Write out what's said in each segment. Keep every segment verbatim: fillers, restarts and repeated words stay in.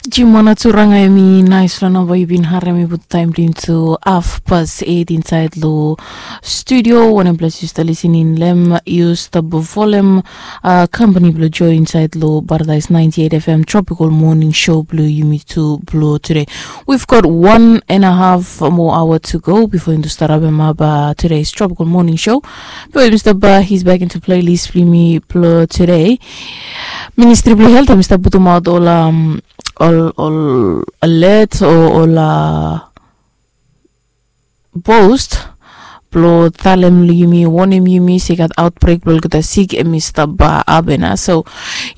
Jimona Turanga, em i nais long namba yu bin harem i put taim blong yu tu hafpas eit insaed long studio. Wanem ples yu stap lisin in long em, yu stap folem kampani blong Joe insaed long Paradise ninety eight F M Tropical Morning Show blong yumi tu blong tude. We've got one and a half more hour to go before yumi stap harem ap today's Tropical Morning Show. But yumi stap, he's back into playlist blong yumi blong tude. Ministri blong helt em i stap putumaot ol ol ol alert o ol post blong talem long yumi, wonem yumi se i gat aotbrek blong olgeta sik em i stap hapen ya. So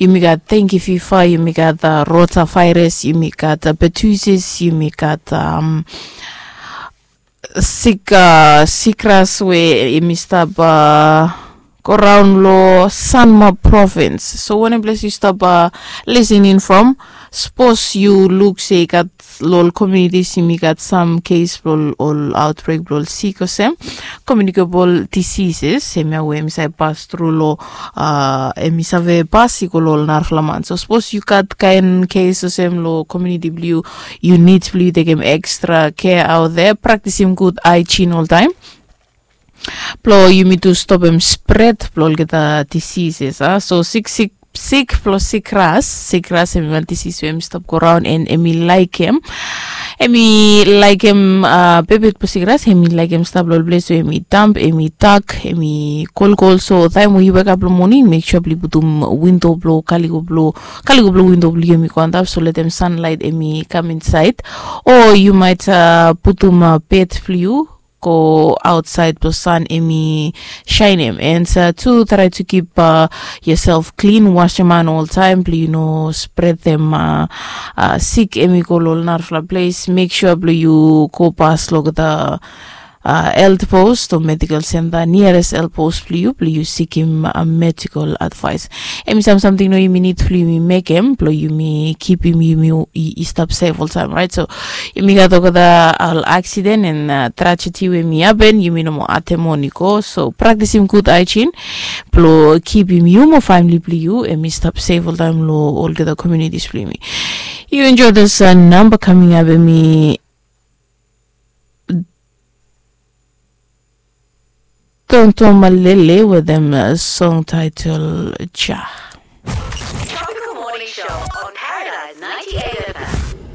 yumi gat denki fifa, yumi gat rota vairas, yumi gat pertussis, yumi gat sik, sikras we em i stap goraon long Sanma provins. So wanem ples yu stap lisin in from? Sapos yu luk se i gat long ol komunitis yumi gat sam kes blong ol aotbrek blong ol sik olsem komiunikabol disises, em ya we em i save pas tru long, em i save pas i go long ol narafala man. So sapos yu gat kaen kes olsem long komuniti blong yu, yu nid blong yu tekem ekstra kea aot de, praktisim gud haejin oltaem blong yumi tu stopem spret blong olgeta disises a. So siksik sik blong sikras, sikras em i wan disis we em i stap goraon and em i laikim em i laikim bebet blong sikras, em i laikim stap long ol ples we em i damp, em i dak, em i kolkol. So taem we yu wekap long moning, mek sua blong yu putum windo blong kaliko blong kaliko blong windo blong yu em i go antap, so letem sanlaet em i kam insaed. O yu maet putum bed blong yu go aotsaed blong san em i saenem. And tu trae tu kip yoself klin, wasem han oltaem blong yu no spretem sik em i go long ol narafala ples. Mek sua blong yu go pas long olgeta health post o medical center, niares health post blong yu blong yu sikim medical advice. Em i sam samting no yumi nid blong yumi mekem blong yumi kipim yumi i stap sef oltaem, raet? So yumi gat olgeta ol aksiden and trajedi we em i hapen, yumi no moa atem on i go. So praktisim gud haejin blong kipim yu mo famili blong yu em i stap sef oltaem long olgeta komunitis blong yumi. Yu enjoy this namba kaming ap, em i Tonto Malele wetem song title Ja.